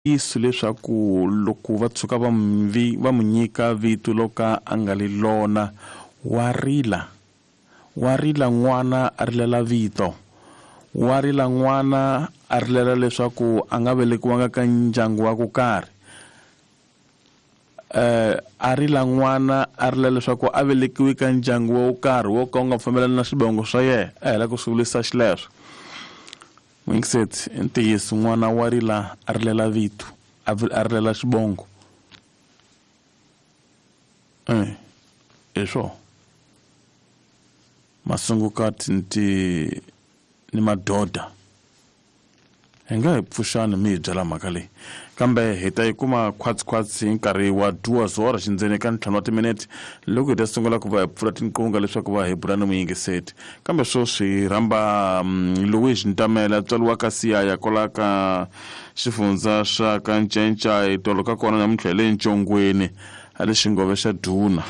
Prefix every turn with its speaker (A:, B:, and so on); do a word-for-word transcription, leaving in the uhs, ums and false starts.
A: Ntiyiso leswaku loko va tshuka va n'wi va n'wi nyika vito lo ka a nga li lona wa rila wa rila n'wana a rilela vito wa rila n'wana a rilela leswaku a nga velekiwanga ka ndyangu wa ku karhi eh a rila n'wana a rila leswaku a velekiwe ka ndyangu wo karhi wo ka wu nga fambelani na swivongo swa yena a hela ku swi vulisa xileswo n'wingiseti i ntiyiso n'wana wa rila a rilela vito a a rilela xivongo eh hi swona masungukati ni ti ni madoda hi nga hi pfuxani mi hi byela mhaka leyi kambe hi ta yi kuma khwatsikhwatsi hi nkarhi wa duwazora xindzeni ka ntlhanu wa timinete loko hi ta sungula ku va hi pfula tinqunga leswaku va hi bula ni muyingiseti kambe sweswi hi rhamba Louis Ntamela tswariwa ka Siyaya kwala ka xifundza xa ka Ncencai tolo ka kona namuntlha hi le Ncongweni a le xingove xa Duna.